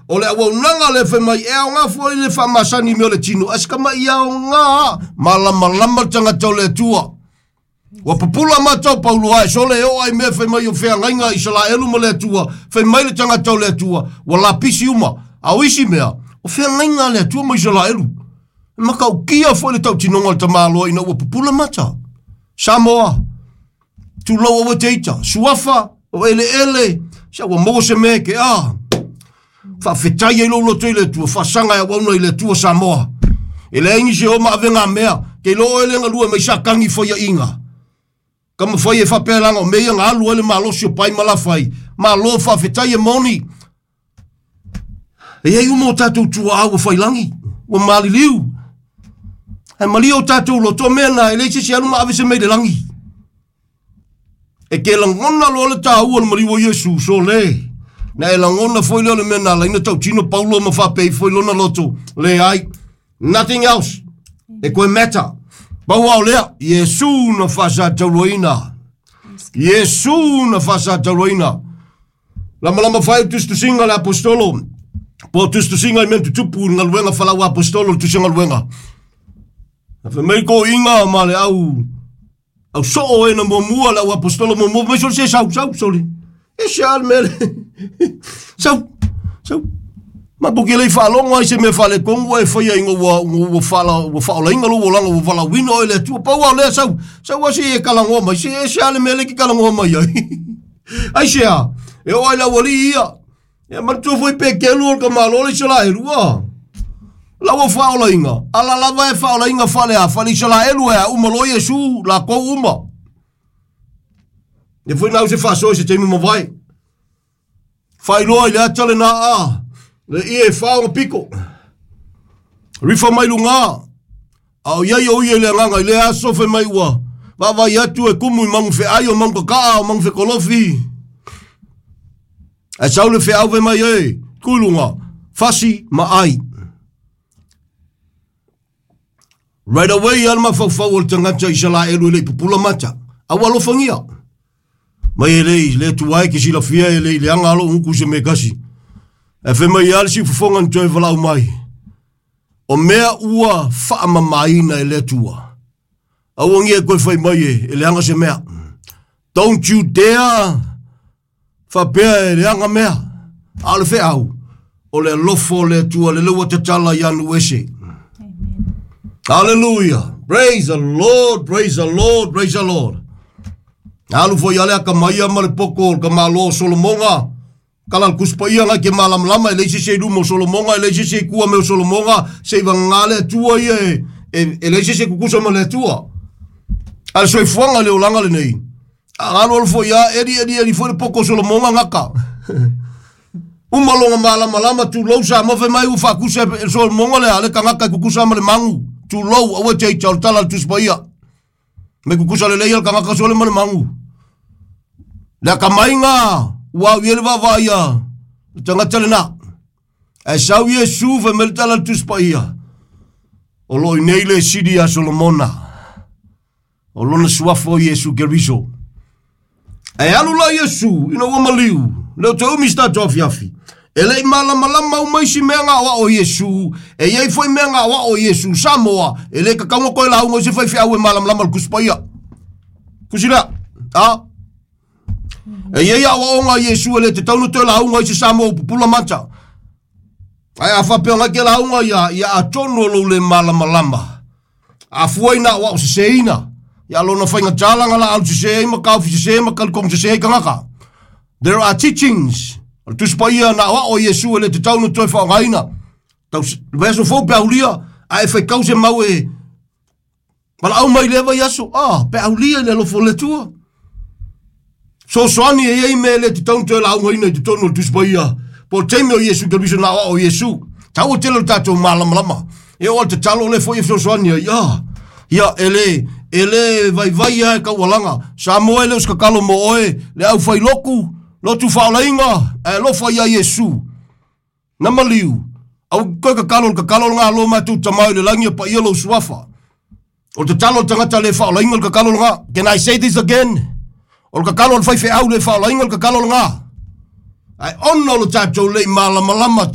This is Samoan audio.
O le auaunaga lea fai mai e aoga foi le faamasani i mea o le tino, ae se tama'i aoga malamalama le tagata o le Atua. Ua pupula mata o Paulo ae sole e oo ai mea fai mai o feagaiga a Isalaelu ma le Atua, fai mai le tagata o le Atua, ua lapisi uma. A o isi mea, o feagaiga a le Atua ma Isalaelu. E matautia foi le tautinoga o le tamaloa ina ua pupula mata. Samoa, tulou aua te ita, suafa, o eleele, se ua maua se mea e ke a. Faafetai ai lou loto i le Atua, faasaga e auauna i le Atua Samoa. E leai nisi o ma avega mea, ke iloa oe le galue mai sa kagi faiaina. Ka mafai e faapea laga o mea ia na alu ai le malosi o pai ma lafai. Malo faafetai e moni. E i ai uma o tatou tuaa ua failagi, ua maliliu. Ae malie o tatou loto mea na, e leai se isi e alu ma ave se mea i le lagi. E ke lagona loa le taua o le maliu o Iesu, sole. Na e lagona foi lea o le mea na ala ai ona tautino Paulo ma faapea ifo i lona loto, leai, nothing else e koe matter. Pau lava o lea, Iesu na faasatauloina. Iesu na faasatauloina. Lamalama fai o tusitusiga a le Aposetolo, po o tusitusiga i mea na tutupu i le galuega falau Aposetolo, le tusi galuega. Na fai mai toeaiina ma le au au soo e na muamua le au aposetolo muamua mai sole se sau sau sole e se a le mea le sau sau ma po ke lei faalogo ai se mea faaletonu ua e faia ina ua ua faala ua faaolaina lou olaga ua valaauina oe e le Atua pau lava o lea sau sau lava se i e talanoa mai se e se a le mea lea e te talanoa mai ai aisea e oo lava i le aualii ia Ia manatua foi Peteru o le tamaloa le Isaraelu, a. Lau faaolaina, ala lava e faaolaina faale-a, fale-Isaraelu e a uma loa Iesu, latou uma. Ia foi na au se faasoa i se taimi mavae. Faailoa i le ata lena a, le ie e fa ona pito. Rifa mai luga, a o iai o ia i le agaga i lea aso fai mai ua vaavaai atu e kumu i magu feai o magu kakaa o magu fekolofi. Ae sau le feau fai mai e, tu i luga, fasi ma ai. Right away lava le mafaufau o le tagata Isaraelu e le i pupula mata. A ua alofagia. Mai e le i le Atua e ke silafia e le i leaga lou gutu i se mea e tasi. Ae fai mai lava le siufofoga na toe valaau mai. O mea ua faamamaina e le Atua. Aua nei e toe fai mai e leaga se mea. Don't you dare faapea e leaga mea, a o le feau, o le alofa o le Atua, lele ua tatala ia Nuese. Hallelujah. Praise the Lord, praise the Lord, praise the Lord. Alu foi ale akamai ia ma le poto o le tamaloa o Solomoga. Kala le Tusi Paia ngai ke malamalama e leai se isi e i luma o Solomoga, e leai se isi e i tua me o Solomoga, se i vagana le Atua ia e, e, e leai se isi e tutusa ma le Atua. A le soifuaga i le olaga lenei, A alualu foi a eli eli eli foi le poto o Solomoga gata. Uma lona malamalama tulou Samoa fai mai ua faakusa e Solomoga le a le tagata e kukusa ma le magu. Tulou aua e te ita o le tala a le Tusi Paia. Me kukusa lelei a le tagata sole ma le magu. Le akamaiga ua au i ai le vaavaai a le tagata lena. Ae sau Iesu fai mai le tala a le Tusi Paia. O lo o i nei le sili a Solomona. O lona suafa o Iesu Keriso. Ae alu la Iesu ina ua maliu, le o toe umi se tatou afiafi. E le i malamalama uma isi mea na aoao e Iesu, e i ai foi mea na aoao e Iesu Samoa, e le tatau ona toe lauga i se faifeau e malamalama i le Tusi Paia. Tusi lea, a? E i ai aoaoga a Iesu e le tatau ona toe lauga i se Samoa ua pupula mata. Ae a faapea ngai ke lauga ia, ia atonu o lou le malamalama. A fua ina aoao seseina, ia lona faigata langa la alu sese ai ma taofi sese ma talitonu sese ai tagata. There are teachings. O le Tusi Paia na aoao e Iesu e le tatau ona toe faaaogaina. Tau vaiaso fou pe aulia, a e faitau se mau e valaau mai lea vaiaso, ah, pe aulia i le alofa o le Atua. Fesoasoani e i ai mea e le tatau ona toe laugaina i totonu o le Tusi Paia. Po o le taimi o Iesu Keriso na aoao Iesu. Taua tele o le tatou malamalama. E oo lava i le tatalo lea foi e fesoasoani ai. Ah, ia, e le, e le vaivai lava e taualaga. Samoa e le o se tatalo mo oe, le aufailotu, lotu faaolaina, ae alofa ia Iesu. Na maliu, aua ke toe tatalo i le tatalo lena alo matou Tama i le lagi a paia lou suafa. O le tatalo a le tagata le faaolaina le tatalo lena. Can I say this again? O le tatalo a le faifeau le faaolaina le tatalo lena. Ae ona o le tatou le i malamalama.